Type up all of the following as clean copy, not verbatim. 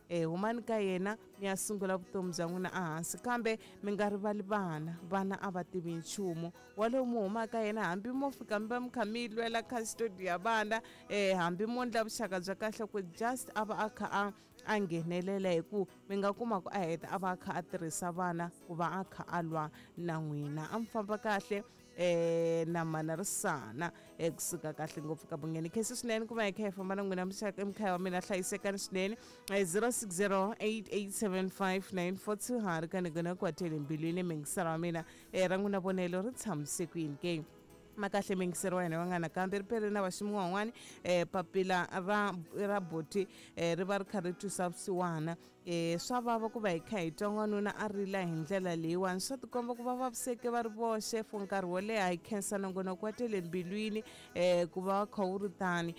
Humani ka yena mi ya sungula vutomi bya n'wina ehansi, kambe mi nga rivali vana. Vana a va tivi nchumu. Walowo mi humaka yena, hambi mo fika mi va mi kha mi yi lwela custody ya vana, hambi mo ndla vuxaka bya kahle ku just a va a kha a a nghenelela, hi ku mi nga kuma ku a heta a va a kha a tirhisa vana ku va a kha a lwa na n'wina. A mi famba kahle na mana Risana kusuka kahle ngopfu ka Bungeni. Khensi swinene ku va hi kha hi famba na n'wina muxaka emukhaya wa mina, hlayisekani swinene. 0608875942 ha ri ka ni gona kwatele mbilwini mingiselo wa mina ra n'wina vonelo ri tshamise kwini ke? Makahle mingiselo wa hina wa nga nakambe ri pele na vaximi van'wani. Papila ra boti ri va ri kha ri twisa vusiwana. Swa vava ku va hi kha hi twa n'wanuna a rila hi ndlela leyiwani, swa tikomba ku va vaviseke va ri voxe for nkarhi wo leha. Hi khensa nongonoko wa tele mbilwini ku va kha wu ri tani,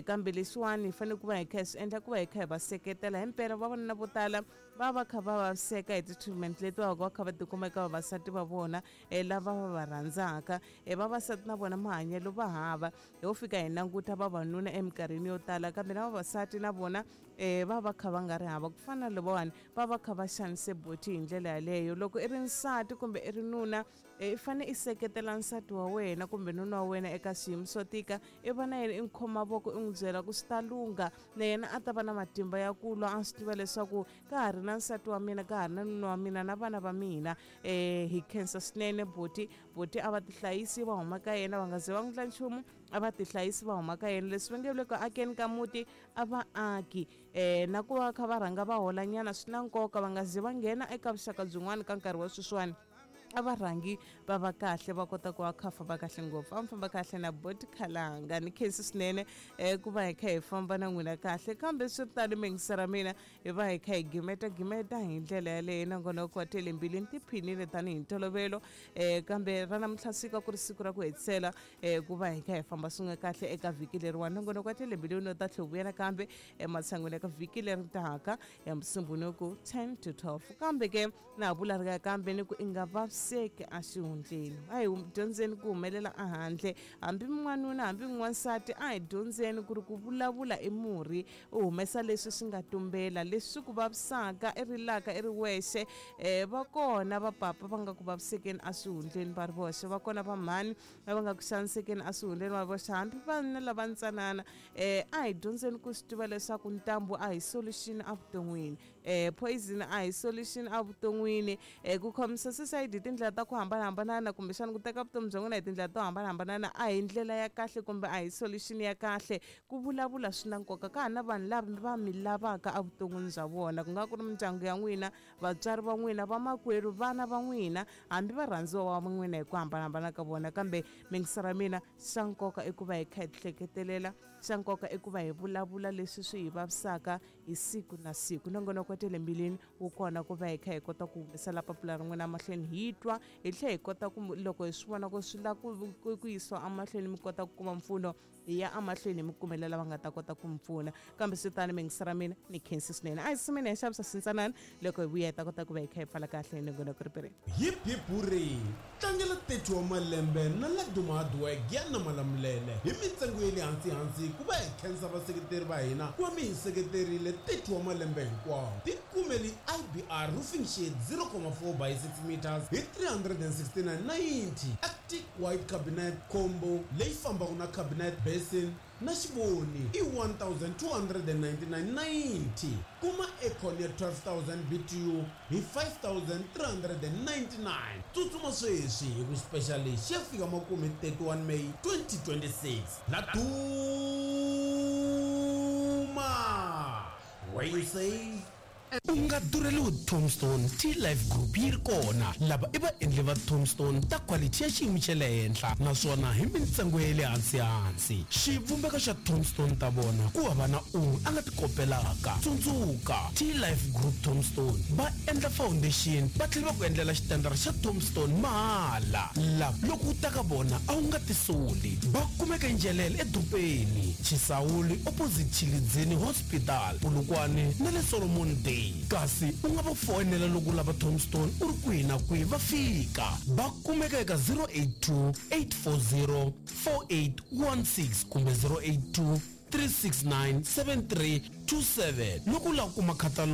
kambe leswiwani hi fanele ku va hi kha hi swi endla ku va hi kha hi va seketela. Himpela vavanuna vo tala va va kha va vaviseka hi ti-treatment leti va va kha va tikuma eka vavasati va vona lava va va rhandzaka. Vavasati na vona mahanyelo va hava, ho fika hi languta vavanuna eminkarhini yo tala, kambe na vavasati na vona va va kha va nga ri hava. Ku fana na lavawani va va kha va xanise boti hi ndlela yaleyo. Loko i ri nsati kumbe i ri nuna, i fane i seketela nsati wa wena kumbe nuna wa wena eka swiyimo swo tika, i va na yena, i n'wi khoma voko, i n'wi byela ku swi ta lungha, na yena a ta va na matimba ya ku lwa, a swi tiva leswaku ka ha ri na nsati wa mina, ka ha ri na nuna wa mina na vana va mina. Hi khensa swinene boti. Boti a va tihlayisi va huma ka yena, va nga ze va n'wi ndla nchumu, a va tihlayisi va huma ka yena. Leswi va nge le ku akeni ka muti a va aki, na ku va kha va rhanga va holanyana swi na nkoka, va nga ze va nghena eka vuxaka byin'wana ka nkarhi wa sweswiwani, a va rhangi va va kahle, va kota ku va kha famba kahle ngopfu. A mi famba kahle na boti Khalanga, ni khensi swinene ku va hi kha hi famba na n'wina kahle. Kambe swi ri tano, mingisa ra mina, hi va hi kha hi gimeta gimeta hi ndlela yaleyo. Nongonoko wa tele mbilwini tiphinile tanihi ntolovelo, kambe ra namuntlha siku ku ri siku ra ku hetisela ku va hi kha hi famba swin'we kahle eka vhiki leriwani. Nongonoko wa tele mbilwini u ta tlhe vuya nakambe ematshan'wini eka vhiki leri taka ya Musumbhunuku 10 to 12. Kambe ke na ha vula ri kambe ni ku i nga vaviseki exihundleni, a hi dyondzeni ku humelela ehandle, hambi n'wanuna hambi n'wansati, a hi dyondzeni ku ri ku vulavula i murhi. U humesa leswi swi nga tumbela, leswi swi ku vavisaka, i rilaka i ri wexe. Va kona vapapa va nga ku vavisekeni eswihundleni va ri voxe, va kona vamhani lava nga ku xanisekeni eswihundleni va ri voxe, hambi vana lava ntsanana. A hi dyondzeni ku swi tiva leswaku ntambu a hi solution evuton'wini, poison a hi solution evuton'wini. Ku khomisa suicide hi tindlela ta ku hambanahambana, kumbexana ku teka vutomi bya n'wina hi tindlela to hambanahambana, a hi ndlela ya kahle kumbe a hi solution ya kahle. Ku vulavula swi na nkoka. Ka ha na vanhu lava va mi lavaka evuton'wini bya vona, ku nga ku ri mindyangu ya n'wina, vatswari va n'wina, vamakwerhu, vana va n'wina, hambi varhandziwa va n'wina hi ku hambanahambana ka vona. Kambe mingisa ra mina, xa nkoka i ku va hi kha hi tihleketelela, xa nkoka i ku va hi vulavula leswi swi hi vavisaka hi siku na siku. Nongonoko wa tele mbilwini wu kona ku va hi kha hi kota ku humesela papila ra n'wina emahlweni, hi twa hi tlhela hi kota ku loko hi swi vona ku swi lava ku yisiwa emahlweni, mi kota ku kuma mpfuno, hi ya emahlweni hi mi kumela lava nga ta kota ku mi pfuna. Kambe swi tani, mingisa ra mina, ni khensi swinene. A hi sumeni hi xavisa swintsanana, loko hi vuya hi ta kota ku va hi kha hi pfala kahle nongonoko ri. Hip hip hurray! Tlangela 30 wa malembe na Laduma Hardware Giyani Malamulele hi mintsengo ya le hansi hansi ku va hi khensa vaseketeri va hina ku va mi hi seketerile 30 wa malembe hinkwawo. Tikumeli IBR Roofing Sheet 0,4 by 6 meters hi 369.90, Arctic White Cabinet Combo leyi fambaka na cabinet, basin na xivoni i 1299.90. Kuma aircon ya 12000 BTU hi 5399. Tsutsuma sweswi hi ku special lexi xi ya fika makumu hi 31 May 2026. La Duma! Where you save U nga durheliwi Tombstone Tea Life Group yi ri kona. Lava i vaendli va Tombstone ta quality ya xiyimo xa le henhla naswona hi mintsengo ya le hansi-hansi. Xivumbeko xa Tombstone ta vona ku hava na un'we a nga ti kopelaka. Tsundzuka, Tea Life Group Tombstone va endla foundation va tlhela va ku endlela xitendara xa Tombstone mahala. Lava loko u ta ka vona a wu nga tisoli. Va kumeka eNjelele edorobeni, Chisawuli opposite Tshilidzini Hospital, Polokwane na le Solomon Day. Kasi u nga va foyinela loko u lava Tombstone u ri kwihi na kwihi va fika. Va kumeka eka 082 840 4816 kumbe 082 369 7327 loko u lava ku kuma khatalogo.